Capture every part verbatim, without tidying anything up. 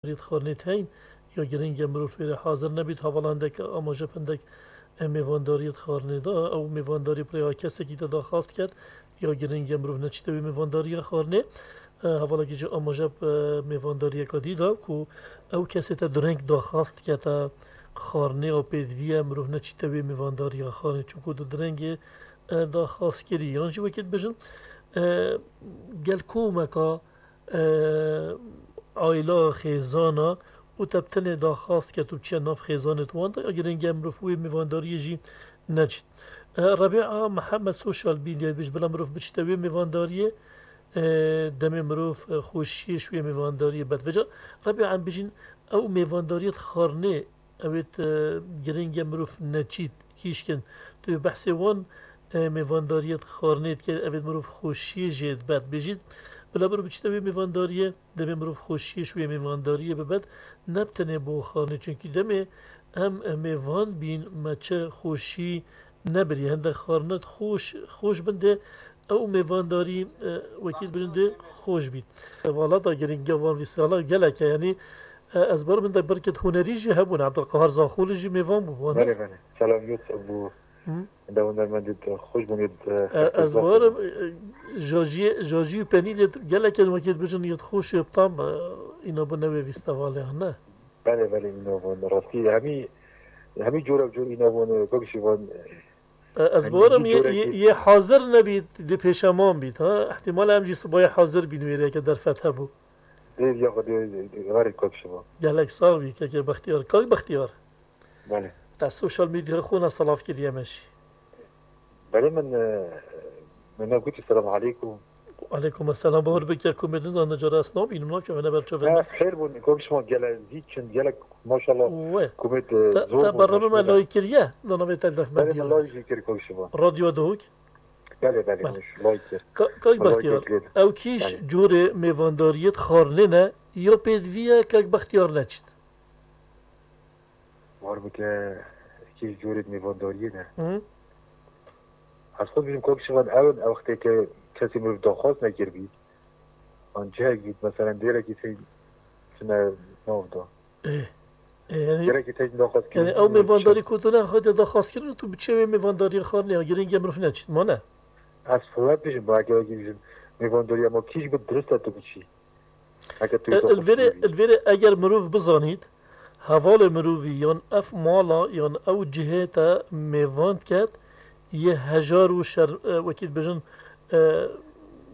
mêvandariyê di xwarinê de heyîn, ya giring e mirov wê re hazir nebît. Hevala hindek amaje bi hindek, e, mêvandariyê di xwarinê de, ew mêvandarî bi rêya kesekî de daxwaz diket, ya giring e mirov neçîte wê mêvandariya xwarinê. E, hevalekî jî amaje bi, e, mêvandariyeka dî da ku ew kesê te dureng daxwaz dikete xwarinê ya pêdivî ye, mirov neçîte wê mêvandariya xwarinê, çunku tu durengê, e, daxwaz kirî. Yan jî wekî dibêjin, e, gel komeka e, aîla, xêzana û te bi tenê daxwaz ket û biçiye nav xêzanê di wan de, ya giring e mirov wê mêvandariyê jî neçît. E, Rebîa Mihemed Sosyal Medya dibêje, bila mirov biçîte wê mêvandariyê, e, demê mirov, e, xweşiyê ji wê mêvandariyê bed. Vêca Rebîa em bêjin, ew mêvandariyê di xwarinê, ew ê, e, giring e mirov neçît, kîşkin. Tu behsê wan, e, mêvandariyê di xwarinê dike, ev ê mirov xweşiyê jê dibe. Dibêjît, bila mirov biçîte wê mêvandariyê, demê mirov xweşiyê ji wê mêvandariyê bibe, ne bi tenê bo xwarinê. Çunkî demê em, e, mêvan bîn, me çi xweşî nebirî. Hindek xwarine xweş, xweş bin dê, ew mêvandarî, e, wekî dibêjin dê xweş bît. Hevala da giringiya van festîvala gelek e. Yanî, e, ez barim hindek birkêt hunerî jî hebûn. Ebdulqehar Zaxolî jî mêvan bû, wan e? Belê, belê. Selam Yusuf bû. Hı? Hinde hunermendî xweş bûn, yê, e, E, ez barim, e, jajiyê, jajiyê û penîrê gelek in wekî dibêjin yê xweş û tam, e, îna bû newê festîvalê, ne? Belê, belê, îna bûn. Rastî hemî, hemî cor ev cor îna bûn, e, kok Şivan, e, E, ez hemî barim hemî yê, cor yê, yê hazir nebît, dê pêşeman bît, ha? Îhtîmal e em jî sibayê hazir bîn wê rêke derfet hebû. Dê, ya xwe dê, dê, dê, verê kok Şivan. Gelek sax bî, kekê Bextiyar. Kak Bextiyar. Belê. Te sosyal medyaya xwe ne silav kiriye me jî. Belê min, e, min ne gotî selam aleykum. Aleykum selam, bawer bike ku me nizanin cara ez nabînim, nakeve ne berçavê. Ha, xêr bûn, kok Şivan, gelek zî çin, gelek maşallah. Wê. Ku me, e, te, zor te bûn, bernameya me lay kiriye, di navê Telef Medya. Belê, me lay jî kir kok Şivan. Radyo Duhok. Belê, belê, belê. Lay kir. Ka-, Kak Bextiyar, ew kîş corê mêvandariyê di xwarinê ne, ya pêdivî ye, Kak Bextiyar neçît. War bike kî corê mêvandariyê ne. Hı. Ez xwe dibînim kok Şivan ew in, ew wextê ke kesê mirov daxwaz nekiribî. An cihek bît, meselen dêrekî tey çine nav da. Ê, ê, yanî, Dêrekî tey daxwaz yanî kiribî, ew mêvandarî ku tu ne xwedê daxwaz kirin, tu biçe wê mêvandariyê xwarinê ya giring e mirov neçît, ma ne? Ez xwe dibêjim, ba eger wekî bêjim, mêvandariya ma kî jî bi dirist e tu biçî. Heke tu E, li vêrê, li vêrê eger mirov bizanît, hevalê mirovî yan ev mala yan ew cihê te mêvan diket, yê hejar û şer-, e, wekî dibêjin, e,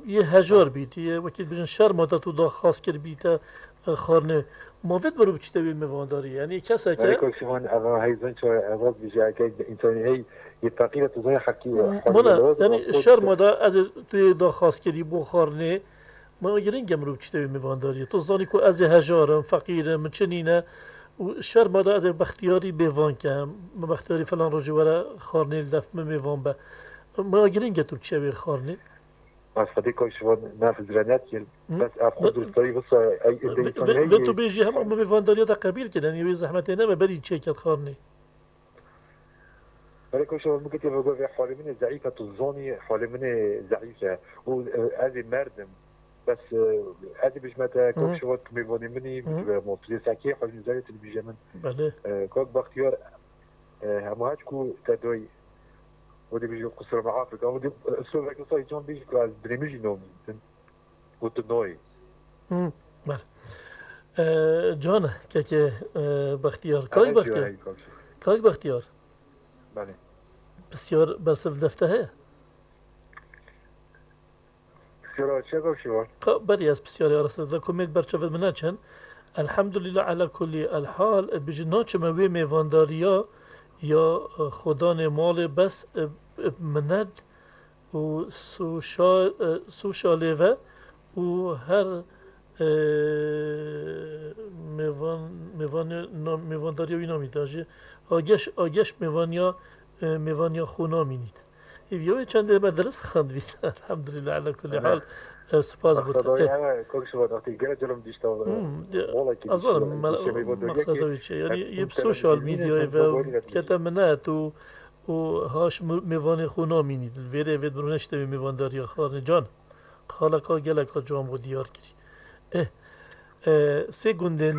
yê hejar bît, yê wekî dibêjin şerma te tu daxwaz kiribî te, e, xwarinê. Ma vê mirov biçîte wê mêvandarî. Yanî keseke Belê kok Şivan, eva hey zan çawa eva dibêje, heke însanî hey yê feqîr e, tu zanî heqî, Hmm, heqî mana, lewaz yanî rast şerma da ez ê tu yê daxwaz kirî bo xwarinê, Ma giring e mirov biçîte wê mêvandariyê. Tu zanî ku ez ê hejar im, feqîr im, min çi nîne û şerma da ez ê bextiyarî bêvan kem. Min bextiyarî filan rojê were xwarinê li def min mêvan be. Ma giring e tu biçe wê xwarinê. Ez xwedê kok Şivan ne hizre nedkir. Hı? Bes ev xwe Ve-, durustarî visa ey ê ve-, deytan ve-, heye. Vê tu bêjî hema min mêvandariya te qebîl kir. Yanî wê zehmetê nebe berî çêket xwarinê. Belê kok Şivan, min gotê, vê halê min ê zeîf e, tu zanî halê min ê zeîf e. Û, e, ez ê merdim. Bes, e, ez ê bijme te, Hı hı. kok Şivan, tu mêvanê min î, Hı hı. tu, e, ma tu yê sekê halê min ê zeîf e, tu dibîje min. Belê. E, kok Bextiyar, e, hema heç ku te doy, o dibîje qusura me afik. Ama di, e, sovek wisa can bêjî ku ez binê min jî namînim. Gotin noyê. Hmm, bele. Ee, Can, kekê, e, Bextiyar. Kay Bextiyar. Kay Bextiyar. Belê. Pisyar bersiv defte heye? Pisyara çi kok Şivan? Ka, berî ez pisyarê arasê de komêt berçavê min neçin. Elhamdulillah ala kulli el hal. E, bijî naçime wê mêvandariya ya, e, xodanê malê bes, e, e, minet û soşa-, e, soşalê ve û her, e, mêvan, mêvanê, na-, mêvandariya wî namît. Jî ageş, ageş mêvaniya, e, mêvaniya xwe namînît. Hêviya wê çendê me dirist xwendibît. Elhamdulillah, ala kulli hal, e, spas bo te. Maqseda wê, e, kok Şivan, wextê gere celom dişta, e, Hmm, ya, wala ki ez zanim, dişta, me-, dişta mêvandariya maqseda ki wê çi? Yanî, em yê bi sosyal medyayê ve kete minet û û haş mi-, mêvanê xwe namînî. Li vêrê vê mirov neşte wê mêvandariya xwarinê can. Xaleka geleka can bo diyar kirî. Eh, e, sê gundên